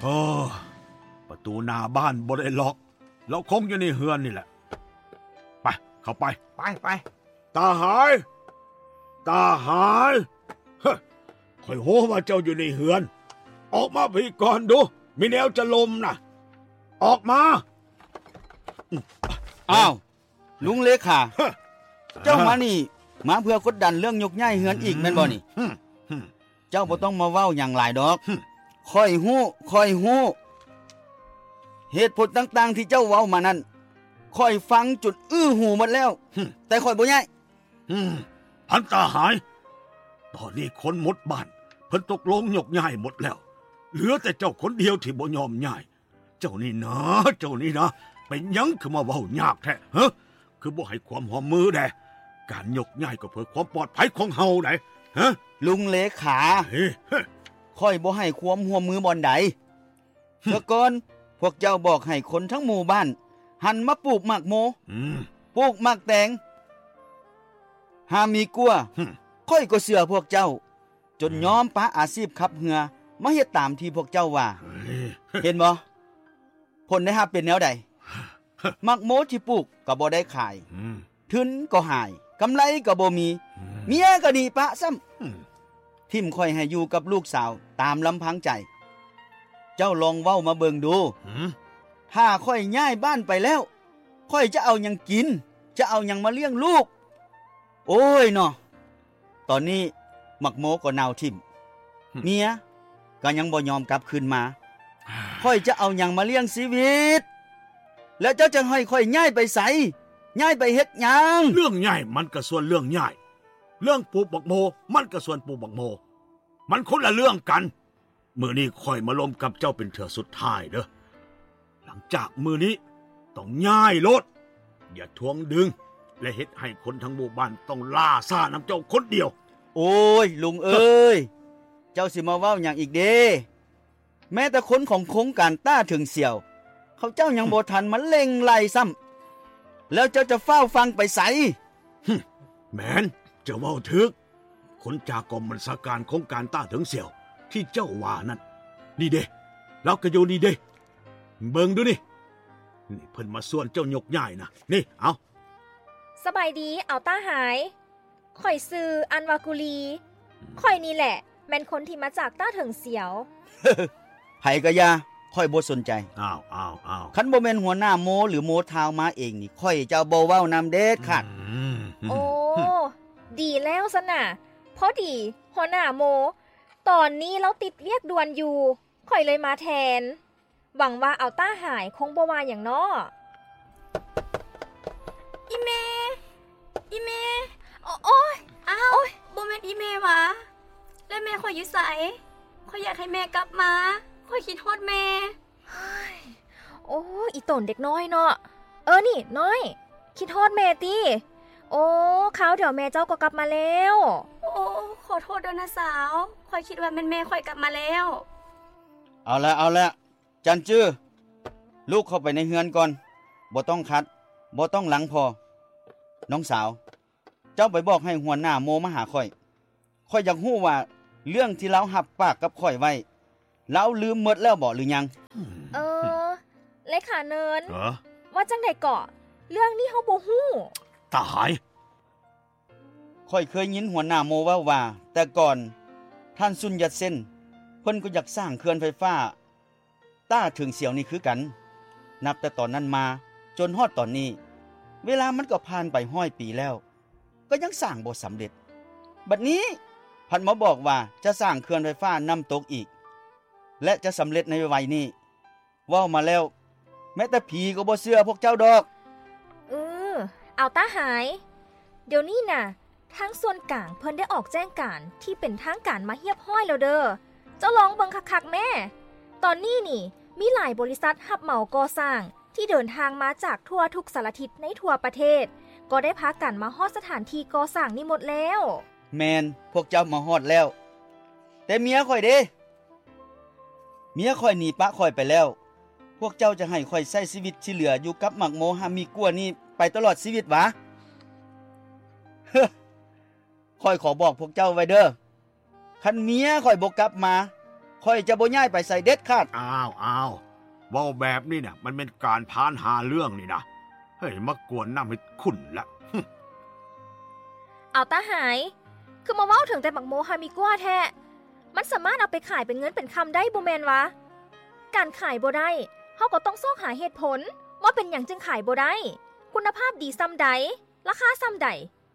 ເອີ ປະຕູໜ້າບ້ານບໍ່ໄດ້ລັອກ ລາວຄົງຢູ່ໃນເຮືອນນີ້ແຫຼະ. ໄປ ເຂົ້າໄປ. ໄປ ໄປ. ຕາຫາຍ! ຕາຫາຍ! ເຮີ້ ຂ້ອຍຮູ້ວ່າເຈົ້າຢູ່ໃນເຮືອນ. ອອກມາພີ້ກ່ອນດູ, ມີແນວຈະລົມນະ. ອອກມາ. ອ້າວ ລຸງເລຂາ, ເຈົ້າມານີ້ມາເພື່ອກົດດັນເລື່ອງຍົກຍ້າຍເຮືອນອີກແມ່ນບໍ່ນີ້? ເຈົ້າບໍ່ຕ້ອງມາເວົ້າຫຍັງຫຼາຍດອກ. ຂ້ອຍຮູ້ ຂ້ອຍຮູ້. ເຫດຜົນຕ່າງໆທີ່ເຈົ້າເວົ້າມານັ້ນ ຂ້ອຍຟັງຈົນອື້ຫູໝົດແລ້ວ, ແຕ່ຂ້ອຍບໍ່ຍ້າຍ. ອືມ ທ່ານຕາຫາຍ, ຕອນນີ້ຄົນໝົດບ້ານເພິ່ນຕົກລົງຍົກຍ້າຍໝົດແລ້ວ, ເຫຼືອແຕ່ເຈົ້າຄົນດຽວທີ່ບໍ່ຍອມຍ້າຍ. ເຈົ້ານີ້ນາ ເຈົ້ານີ້ນາ ເປັນຫຍັງຄືມາເວົ້າຍາກແທ້ ຮະ? ຄືບໍ່ໃຫ້ຄວາມຮ່ວມມືແດ່? ການຍົກຍ້າຍກໍເພື່ອຄວາມປອດໄພຂອງເຮົາໃດ໋ ຮະ? ລຸງເລຂາ, ເອີ ຂ້ອຍບໍ່ໃຫ້ຄວາມຮ່ວມມືບ່ອນໃດ. ເມື່ອກ່ອນພວກເຈົ້າບອກໃຫ້ຄົນທັງໝູ່ບ້ານຫັນມາປູກໝາກໂມ, ອືມ ປູກໝາກແຕງ, ຫາມີກົວ. ຂ້ອຍກໍເຊື່ອພວກເຈົ້າ ຈົນຍອມປະອາຊີບຂັບເຮືອມາເຮັດຕາມທີ່ພວກເຈົ້າວ່າ. ເຫັນບໍ່? ຜົນໄດ້ຮັບເປັນແນວໃດ? ໝາກໂມທີ່ປູກກໍບໍ່ໄດ້ຂາຍ, ທຶນກໍຫາຍ, ກຳໄລກໍບໍ່ມີ, ເມຍກໍໜີປະຊ້ຳ. ຖິ້ມຂ້ອຍໃຫ້ຢູ່ກັບລູກສາວຕາມລຳພັງໃຈ. ເຈົ້າລອງເວົ້າມາເບິ່ງດູ, ຖ້າຂ້ອຍຍ້າຍບ້ານໄປແລ້ວ, ຂ້ອຍຈະເອົາຫຍັງກິນ? ຈະເອົາຫຍັງມາລ້ຽງລູກ? ໂອ້ຍເນາະ, ຕອນນີ້ໝາກໂມກໍເນົ່າຖິ້ມ, ເມຍກໍຍັງບໍ່ຍອມກັບຄືນມາ. ຂ້ອຍຈະເອົາຫຍັງມາລ້ຽງຊີວິດ? ແລ້ວເຈົ້າຈະໃຫ້ຂ້ອຍຍ້າຍໄປໃສ? ຍ້າຍໄປເຮັດຫຍັງ? ເລື່ອງຍ້າຍມັນກໍສ່ວນເລື່ອງຍ້າຍ, ເລື່ອງປູກໝາກໂມມັນກໍສ່ວນປູກໝາກໂມ, ມັນຄົນລະເລື່ອງກັນ. ມື້ນີ້ຂ້ອຍມາລົມກັບເຈົ້າເປັນເທື່ອສຸດທ້າຍເດີ້. ຫຼັງຈາກມື້ນີ້ຕ້ອງຍ້າຍໂລດ, ຢ່າທວງດຶງ ແລະ ເຮັດໃຫ້ຄົນທັງໝູ່ບ້ານຕ້ອງລ່າຊ້ານຳເຈົ້າຄົນດຽວ. ໂອ້ຍ ລຸງເອີຍ, ເຈົ້າຊິມາເວົ້າຫຍັງອີກເດ? ແມ້ແຕ່ຄົນຂອງໂຄງການຕ້າເຖິງສຽວ ເຂົາເຈົ້າຍັງບໍ່ທັນມາເລັ່ງໄລ່ຊ້ຳ, ແລ້ວເຈົ້າຈະຟ້າວຟັ່ງໄປໃສ? ແມ່ນ, ເຈົ້າເວົ້າຖືກ. ຄົນຈາກກອງບັນຊາການໂຄງການຕ້າເຖິງສຽວທີ່ເຈົ້າວ່ານັ້ນ, ນີ້ເດ້, ລາວກໍຢູ່ນີ້ເດ້. ເບິ່ງດູນີ້, ນີ້ເພິ່ນມາຊວນເຈົ້າຍົກຍ້າຍນະ. ນີ້, ເອົາ. ສະບາຍດີ, ອາວຕ້າຫາຍ. ຂ້ອຍຊື່ອັນວາກູລີ. ຂ້ອຍນີ້ແຫຼະແມ່ນຄົນທີ່ມາຈາກຕ້າເຖິງສຽວ. ໃຜກໍຢ່າ, ຂ້ອຍບໍ່ສົນໃຈ. ອ້າວ, ອ້າວ, ອ້າວ. ຄັນບໍ່ແມ່ນຫົວໜ້າໂມ ຫຼື ໂມທາວມາເອງນີ້, ຂ້ອຍຈະບໍ່ເວົ້ານຳເດັດຂາດ. ໂອ້, ດີແລ້ວຊັ້ນນະ. ພໍດີຫົວໜ້າໂມ ຕອນນີ້ລາວຕິດວຽກດ່ວນຢູ່, ຂ້ອຍເລີຍມາແທນ. ຫວັງວ່າອາວຕ້າຫາຍຄົງບໍ່ວ່າຫຍັງເນາະ. ອີ່ແມ່! ອີ່ແມ່! ໂອ, ໂອ້ຍ! ອ້າວ! ໂອ້ຍ! ບໍ່ແມ່ນອີ່ແມ່ຫວາ? ແລະແມ່ຂ້ອຍຢູ່ໃສ? ຂ້ອຍຢາກໃຫ້ແມ່ກັບມາ, ຂ້ອຍຄິດຮອດແມ່. ໂອ້ຍ! ອີ່ຕົນເດັກນ້ອຍເນາະ. ເອີ ນີ້ນ້ອຍ, ຄິດຮອດແມ່ຕິ? ໂອ້, ຄາວດຽວແມ່ເຈົ້າກໍກັບມາແລ້ວ. ໂອ້, ຂໍໂທດເດີ້ນ້າສາວ, ຂ້ອຍຄິດວ່າແມ່ນແມ່ຂ້ອຍກັບມາແລ້ວ. ເອົາລະ, ເອົາລະ. ຈັນຈື, ລູກເຂົ້າໄປໃນເຮືອນກ່ອນ, ບໍ່ຕ້ອງຂັດ, ບໍ່ຕ້ອງຫຼັງພໍ່. ນ້ອງສາວ, ເຈົ້າໄປບອກໃຫ້ຫົວໜ້າໂມມາຫາຂ້ອຍ. ຂ້ອຍຢາກຮູ້ວ່າເລື່ອງທີ່ລາວຮັບປາກກັບຂ້ອຍໄວ້, ລາວລືມໝົດແລ້ວບໍ ຫຼືຍັງ? ເອີ, ເລຂາເນີນ, ວ່າຈັ່ງໃດເກາະ? ເລື່ອງນີ້ເຮົາບໍ່ຮູ້. ຕາຫາຍ! ຂ້ອຍເຄີຍຍິນຫົວໜ້າໂມເວົ້າວ່າ ແຕ່ກ່ອນທ່ານ ຊຸນ ຢັດເຊັນ ເພິ່ນກໍຢາກສ້າງເຂື່ອນໄຟຟ້າ ຕ້າເຖິງສຽວນີ້ຄືກັນ. ນັບແຕ່ຕອນນັ້ນມາຈົນຮອດຕອນນີ້, ເວລາມັນກໍຜ່ານໄປຮ້ອຍປີແລ້ວ, ກໍຍັງສ້າງບໍ່ສຳເລັດ. ບັດນີ້ພັດມາບອກວ່າຈະສ້າງເຂື່ອນໄຟຟ້ານ້ຳຕົກອີກ ແລະ ຈະສຳເລັດໃນໄວໆນີ້. ເວົ້າມາແລ້ວ, ແມ້ແຕ່ຜີກໍບໍ່ເຊື່ອພວກເຈົ້າດອກ. ອື, ອາວຕາຫາຍ, ດຽວນີ້ນະ ທາງສ່ວນກາງເພິ່ນໄດ້ອອກແຈ້ງການທີ່ເປັນທາງການມາຮຽບຮ້ອຍແລ້ວເດີ້. ເຈົ້າລອງເບິ່ງຄັກໆແມ້. ຕອນນີ້ນີ້ ມີຫຼາຍບໍລິສັດຮັບເໝົາກໍ່ສ້າງທີ່ເດີນທາງມາຈາກທົ່ວທຸກສາລະທິດໃນທົ່ວປະເທດ ກໍໄດ້ພາກັນມາຮອດສະຖານທີ່ກໍ່ສ້າງນີ້ໝົດແລ້ວ. ແມ່ນ, ພວກເຈົ້າມາຮອດແລ້ວ. ແຕ່ເມຍຂ້ອຍເດ? ເມຍຂ້ອຍໜີປະຂ້ອຍໄປແລ້ວ. ພວກເຈົ້າຈະໃຫ້ຂ້ອຍໃຊ້ຊີວິດທີ່ເຫຼືອຢູ່ກັບໝາກໂມຮາມີກົວນີ້ໄປຕະຫຼອດຊີວິດຫວາ? ເຮີ, ຂ້ອຍຂໍບອກພວກເຈົ້າໄວ້ເດີ້, ຄັນເມຍຂ້ອຍບໍ່ກັບມາ, ຂ້ອຍຈະບໍ່ຍ້າຍໄປໃສເດັດຂາດ. ອ້າວ ອ້າວ ເວົ້າແບບນີ້ນະ ມັນແມ່ນການພານຫາເລື່ອງນີ້ນະ. ເຮີ້ຍ ມາກວນນ້ຳເຮັດຂຸ້ນລະ. ເອົາຕາຫາຍ ຄືມາເວົ້າເຖິງແຕ່ໝາກໂມຮາມິກົວແທ້. ມັນສາມາດເອົາໄປຂາຍເປັນເງິນເປັນຄຳໄດ້ບໍ່ແມ່ນຫວາ? ການຂາຍບໍ່ໄດ້ ເຮົາກໍຕ້ອງຊອກຫາເຫດຜົນວ່າເປັນຫຍັງຈຶ່ງຂາຍບໍ່ໄດ້, ຄຸນນະພາບດີສ່ຳໃດ, ລາຄາສ່ຳໃດ,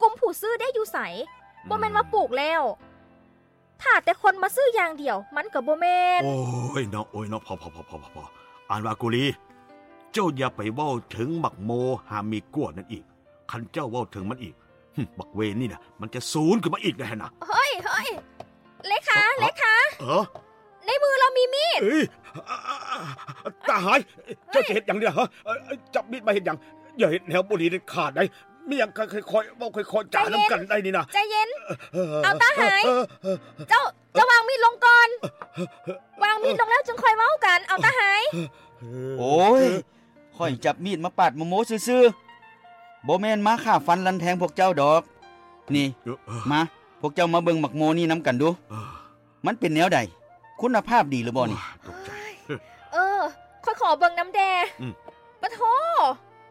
ກຸ່ມຜູ້ຊື້ເດ້ຢູ່ໃສ? ອືມ ບໍ່ແມ່ນວ່າປູກແລ້ວ ຖ້າແຕ່ຄົນມາຊື້ຢ່າງດຽວ ມັນກໍບໍ່ແມ່ນ. ໂອ້ຍເນາະ ໂອ້ຍເນາະ ພໍໆໆໆ ອັນວ່າກຸລີ ເຈົ້າຢ່າໄປເວົ້າເຖິງໝາກໂມຮາມິກົວນັ້ນອີກ. ຄັນເຈົ້າເວົ້າເຖິງມັນອີກ ຫຶ ບັກເວນນີ້ນະ ມັນຈະສູນຂຶ້ນມາອີກແນ່ຫັ້ນນະ. ເຮີ້ຍ ເຮີ້ຍ ເລຂາ ເອີ ເລຂາ ເອີ ໃນມືລາວມີມີດ. ເອີຍ ຕາຫາຍ ເຈົ້າຈະເຮັດຫຍັງນີ້ລະ? ເອີ ເອີ ຈັບມີດມາເຮັດຫຍັງ? ຢ່າເຮັດແນວບໍ່ດີເດັດຂາດໃດ. ມີຫຍັງຄ່ອຍໆເວົ້າ ຄ່ອຍໆຈານຳກັນໄດ໋ນີ້ນະ. ໃຈເຢັນ ເອີ ເອົາຕາຫາຍ ເຈົ້າ ເຈົ້າວາງມີດລົງກ່ອນ. ວາງມີດລົງແລ້ວຈຶ່ງຄ່ອຍເວົ້າກັນ. ເອົາຕາຫາຍ. ໂອ້ຍ ຂ້ອຍຈັບມີດມາປາດໝາກໂມຊື່ໆ ບໍ່ແມ່ນມາຂ້າຟັນລັນແທງພວກເຈົ້າດອກ. ນີ້ ເອີ ມາ ພວກເຈົ້າມາເບິ່ງໝາກໂມນີ້ນຳກັນດູ. ເອີ ມັນເປັນແນວໃດ? ຄຸນນະພາບດີຫຼືບໍ່ນີ້? ໂອ້ຍ ຕົກໃຈ. ເອີ ຂ້ອຍຂໍເບິ່ງນຳແດ່. ອືມ ປະໂທ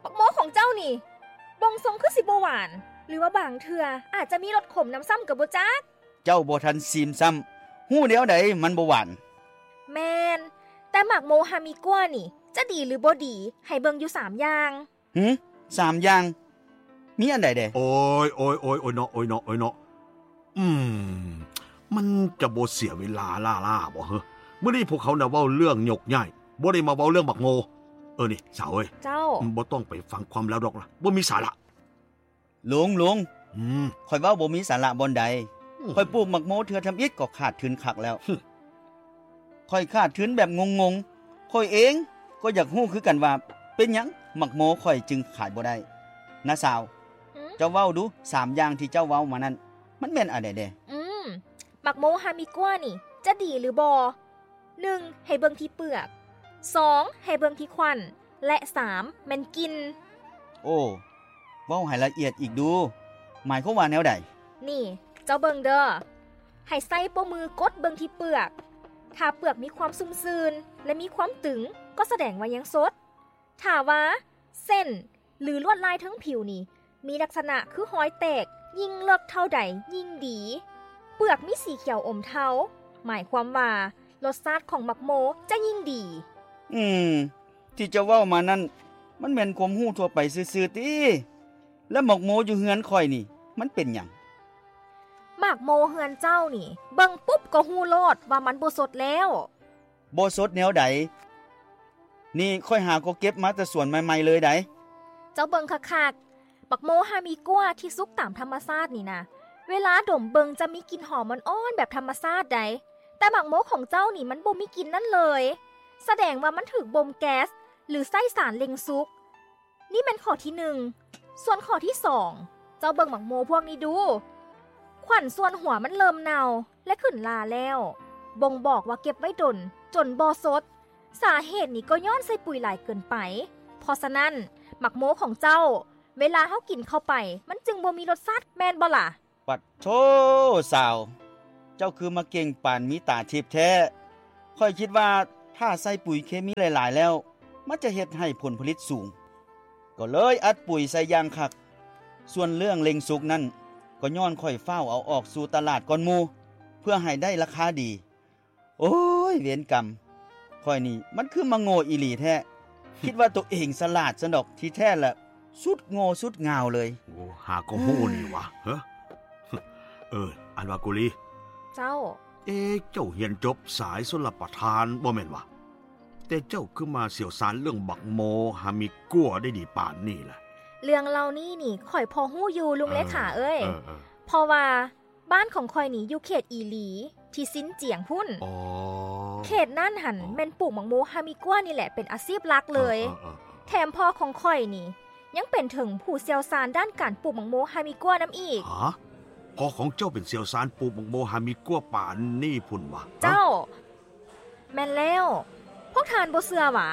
ໝາກໂມຂອງເຈົ້ານີ້ ເບິ່ງຊົງຄືຊິບໍ່ຫວານ ຫຼືວ່າບາງເທື່ອອາດຈະມີລົດຂົມນຳຊ້ຳກໍບໍ່ຈັກ. ເຈົ້າບໍ່ທັນຊີມຊ້ຳ ຮູ້ແນວໃດມັນບໍ່ຫວານ? ແມ່ນ ແຕ່ໝາກໂມຮາມິກົວນີ້ ຈະດີຫຼືບໍ່ດີ ໃຫ້ເບິ່ງຢູ່ສາມຢ່າງ. ຫື ສາມຢ່າງ ມີອັນໃດແດ່? ໂອ້ຍ ໂອ້ຍ ໂອ້ຍ ໂອ້ຍເນາະ ໂອ້ຍເນາະ ໂອ້ຍເນາະ. ອືມ ມັນຈະບໍ່ເສຍເວລາລ້າໆບໍ່ເຮີ? ມື້ນີ້ພວກເຮົານະເວົ້າເລື່ອງຍົກຍ້າຍ ບໍ່ໄດ້ມາເວົ້າເລື່ອງໝາກໂມ. ເອີ ນີ້ສາວເອີຍ ເຈົ້າ ບໍ່ຕ້ອງໄປຟັງຄວາມລາວດອກລະ ບໍ່ມີສາລະ. ລຸງ ລຸງ ອືມ ຂ້ອຍເວົ້າບໍ່ມີສາລະບ່ອນໃດ. ອືມ ຂ້ອຍປູກໝາກໂມເທື່ອທຳອິດກໍຂາດທຶນຄັກແລ້ວ. ຫຶ ຂ້ອຍຂາດທຶນແບບງົງໆ. ຂ້ອຍເອງກໍຢາກຮູ້ຄືກັນວ່າເປັນຫຍັງໝາກໂມຂ້ອຍຈຶ່ງຂາຍບໍ່ໄດ້. ນ້າສາວ ອືມ ເຈົ້າເວົ້າດູ ສາມຢ່າງທີ່ເຈົ້າເວົ້າມານັ້ນ ມັນແມ່ນອັນໃດແດ່? ອືມ ໝາກໂມຮາມິກົວນີ້ ຈະດີຫຼືບໍ່? ໜຶ່ງ ໃຫ້ເບິ່ງທີ່ເປືອກ, ສອງ ໃຫ້ເບິ່ງທີ່ຂວັນ ແລະ ສາມ ແມ່ນກິ່ນ. ໂອ້ ເວົ້າໃຫ້ລະອຽດອີກດູ ໝາຍຄວາມວ່າແນວໃດ? ນີ້ ເຈົ້າເບິ່ງເດີ ໃຫ້ໃຊ້ໂປ້ມືກົດເບິ່ງທີ່ເປືອກ. ຖ້າເປືອກມີຄວາມຊຸ່ມຊື່ນ ແລະ ມີຄວາມຕຶງ ກໍສະແດງວ່າຍັງສົດ. ຖ້າວ່າເສັ້ນ ຫຼື ລວດລາຍເທິງຜິວນີ້ ມີລັກສະນະຄືຮອຍແຕກ, ຍິ່ງເລິກເທົ່າໃດຍິ່ງດີ. ເປືອກມີສີຂຽວອົມເທົາ, ໝາຍຄວາມວ່າລົດຊາດຂອງໝາກໂມຈະຍິ່ງດີ. ອືມ, ທີ່ເຈົ້າເວົ້າມານັ້ນ ມັນແມ່ນຄວາມຮູ້ທົ່ວໄປຊື່ໆຕິ? ແລ້ວໝາກໂມຢູ່ເຮືອນຂ້ອຍນີ້ ມັນເປັນຫຍັງ? ໝາກໂມເຮືອນເຈົ້ານີ້ ເບິ່ງປຸບກໍຮູ້ໂລດວ່າມັນບໍ່ສົດແລ້ວ. ບໍ່ສົດແນວໃດ? ນີ້ຂ້ອຍຫາກໍເກັບມາແຕ່ສວນໃໝ່ໆເລີຍໃດ໋. ເຈົ້າເບິ່ງຄັກໆ, ໝາກໂມຮາມິກົວທີ່ສຸກຕາມທຳມະຊາດນີ້ນະ, ເວລາດົມເບິ່ງຈະມີກິ່ນຫອມອ່ອນໆແບບທຳມະຊາດໃດ໋, ແຕ່ໝາກໂມຂອງເຈົ້ານີ້ມັນບໍ່ມີກິ່ນນັ້ນເລີຍ, ສະແດງວ່າມັນຖືກບົ່ມແກັສ ຫຼື ໃຊ້ສານເລັ່ງສຸກ. ນີ້ແມ່ນຂໍ້ທີໜຶ່ງ. ສ່ວນຂໍ້ທີສອງ, ເຈົ້າເບິ່ງໝາກໂມພວກນີ້ດູ. ຂວັນສ່ວນຫົວມັນເລີ່ມເນົ່າ ແລະ ຂຶ້ນລາແລ້ວ, ບົ່ງບອກວ່າເກັບໄວ້ດົນ ຈົນບໍ່ສົດ. ສາເຫດນີ້ກໍຍ້ອນໃສ່ປຸ໋ຍຫຼາຍເກີນໄປ. ເພາະສະນັ້ນ, ໝາກໂມຂອງເຈົ້າ, ເວລາເຮົາກິນເຂົ້າໄປ, ມັນຈຶ່ງບໍ່ມີລົດຊາດ, ແມ່ນບໍ່ລະ? ປັດໂທ ສາວ, ເຈົ້າຄືມາເກັ່ງປານມີຕາທິບແທ້. ຂ້ອຍຄິດວ່າຖ້າໃສ່ປຸ໋ຍເຄມີຫຼາຍໆແລ້ວ ມັນຈະເຮັດໃຫ້ຜົນຜະລິດສູງ, ກໍເລີຍອັດປຸ໋ຍໃສ່ຢ່າງຄັກ. ສ່ວນເລື່ອງເລັ່ງສຸກນັ້ນ ກໍຍ້ອນຂ້ອຍຟ້າວເອົາອອກສູ່ຕະຫຼາດກ່ອນໝູ່ ເພື່ອໃຫ້ໄດ້ລາຄາດີ. ໂອ້ຍ ເວນກຳ, ຂ້ອຍນີ້ມັນຄືມາໂງ່ອີ່ຫຼີແທ້. ຄິດວ່າໂຕເອງສະຫຼາດຊັ້ນດອກ, ທີ່ແທ້ລະສຸດໂງ່ສຸດງ່າວເລີຍ. ໂອ້ ຫາກໍຮູ້ນີ້ຫວາ. ເອີ ເອີ ອັນວ່າກຸລີ. ເຈົ້າ. ເອ ເຈົ້າຮຽນຈົບສາຍຊົນລະປະທານບໍ່ແມ່ນຫວາ? ແຕ່ເຈົ້າຄືມາຊ່ຽວຊານເລື່ອງບັກໂມຮາມິກົວໄດ້ດີປານນີ້ລະ? ເລື່ອງເຫຼົ່ານີ້ນີ້ ຂ້ອຍພໍຮູ້ຢູ່ ລຸງເລຂາເອີຍ. ເອີ ເອີ ເອີ. ເພາະວ່າ ບ້ານຂອງຂ້ອຍນີ້ຢູ່ເຂດອີຫຼີ ທີ່ຊິນຈຽງພຸ້ນ. ອໍ ເຂດນັ້ນຫັ້ນ ອໍ ແມ່ນປູກໝາກໂມຮາມິກົວນີ້ແຫຼະເປັນອາຊີບຫຼັກເລີຍ. ເອີ ເອີ ເອີ ເອີ ແຖມພໍ່ຂອງຂ້ອຍນີ້ ຍັງເປັນເຖິງຜູ້ຊ່ຽວຊານດ້ານການປູກໝາກໂມຮາມິກົວນຳອີກ. ຮະ? ພໍ່ຂອງເຈົ້າເປັນຊ່ຽວຊານປູກໝາກໂມຮາມິກົວປານນີ້ພຸ້ນຫວາ? ເຈົ້າ. ແມ່ນແລ້ວ. ພວກທ່ານບໍ່ເຊື່ອຫວາ?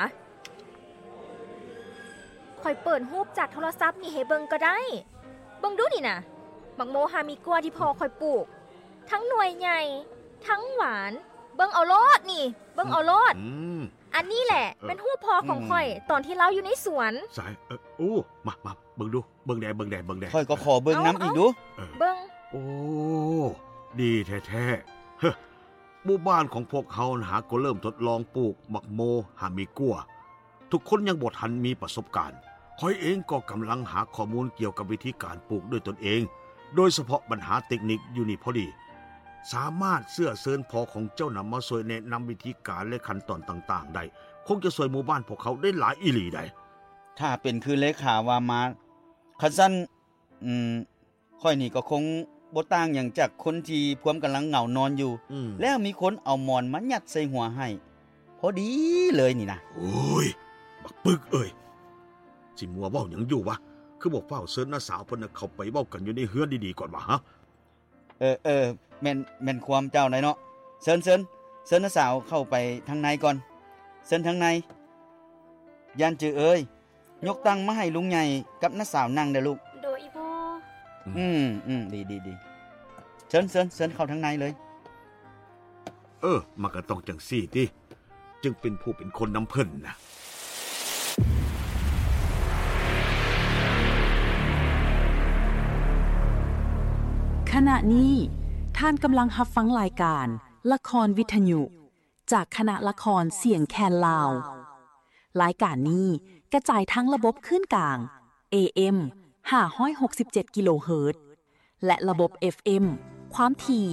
ຂ້ອຍເປີດຮູບຈາກໂທລະສັບນີ້ໃຫ້ເບິ່ງກໍໄດ້. ເບິ່ງດູນີ້ນະ, ໝາກໂມຮາມິກົວທີ່ພໍ່ຂ້ອຍປູກ, ທັງໜ່ວຍໃຫຍ່, ທັງຫວານ, ເບິ່ງເອົາໂລດນີ້ ເບິ່ງເອົາໂລດ. ອືມ ອັນນີ້ແຫຼະ ເອີ ແມ່ນຮູບພໍ່ຂອງຂ້ອຍ ອືມ ຕອນທີ່ລາວຢູ່ໃນສວນ. ໃສ? ເອີ ໂອ້ ມາ ມາ ເບິ່ງດູ ເບິ່ງແດ່ ເບິ່ງແດ່ ເບິ່ງແດ່. ຂ້ອຍກໍຂໍເບິ່ງນຳອີກດູ. ເອີ ເບິ່ງ. ໂອ້ ດີແທ້ໆ. ເຮີ ໝູ່ບ້ານຂອງພວກເຮົານະ ຫາກໍເລີ່ມທົດລອງປູກໝາກໂມ ຫາມີກົວ. ທຸກຄົນຍັງບໍ່ທັນມີປະສົບການ. ຂ້ອຍເອງກໍກຳລັງຫາຂໍ້ມູນກ່ຽວກັບວິທີການປູກດ້ວຍຕົນເອງ, ໂດຍສະເພາະບັນຫາເຕັກນິກຢູ່ນີ້ພໍດີ. ສາມາດເຊື້ອເຊີນພໍ່ຂອງເຈົ້ານຳມາຊ່ວຍແນະນຳວິທີການ ແລະ ຂັ້ນຕອນຕ່າງໆໄດ້, ຄົງຈະຊ່ວຍໝູ່ບ້ານພວກເຮົາໄດ້ຫຼາຍອີ່ຫຼີໃດ໋. ຖ້າເປັນຄືເລຂາວ່າມາ, ຄັນຊັ້ນ, ອືມ, ຂ້ອຍນີ້ກໍຄົງບໍ່ຕ່າງຫຍັງຈາກຄົນທີ່ພວມກຳລັງເຫງົານອນຢູ່ ອືມ ແລ້ວມີຄົນເອົາໝອນມາຍັດໃສ່ຫົວໃຫ້ ພໍດີເລີຍນີ້ນະ. ໂອ້ຍ ບັກປຶກເອີຍ ຊິມົວເວົ້າຫຍັງຢູ່ວະ? ຄືບໍ່ຟ້າວເຊີນນ້າສາວເພິ່ນນະເຂົ້າໄປເວົ້າກັນຢູ່ໃນເຮືອນດີໆກ່ອນວະ? ຮະ ເອີ ເອີ ແມ່ນ ແມ່ນຄວາມເຈົ້າໄດ໋ເນາະ. ເຊີນ ເຊີນ ເຊີນນ້າສາວເຂົ້າໄປທາງໃນກ່ອນ. ເຊີນທາງໃນ. ຢ້ານຈື່ເອີຍ ຍົກຕັ່ງມາໃຫ້ລຸງໃຫຍ່ກັບນ້າສາວນັ່ງເດີ້ລູກ. ໂດຍອີ່ພໍ່. ອືມ ອືມ ອືມ ດີ ດີ ດີ. ເຊີນ ເຊີນ ເຊີນເຂົ້າທາງໃນເລີຍ. ເອີ ມັນກໍຕ້ອງຈັ່ງຊີ້ຕິ ຈຶ່ງເປັນຜູ້ເປັນຄົນນຳເພິ່ນນະ. ຂະນະນີ້ ທ່ານກຳລັງຮັບຟັງລາຍການລະຄອນວິທະຍຸ ຈາກຄະນະລະຄອນສຽງແຄນລາວ. ລາຍການນີ້ກະຈາຍທາງລະບົບຄື້ນກາງ ເອເອັມ ຫ້າຮ້ອຍຫົກສິບເຈັດກິໂລເຮີດ ແລະ ລະບົບ ເອັຟເອັມ ຄວາມຖີ່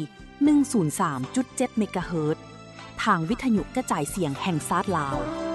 ໜຶ່ງສູນສາມຈຸດເຈັດເມກາເຮີດ ທາງວິທະຍຸກະຈາຍສຽງແຫ່ງຊາດລາວ.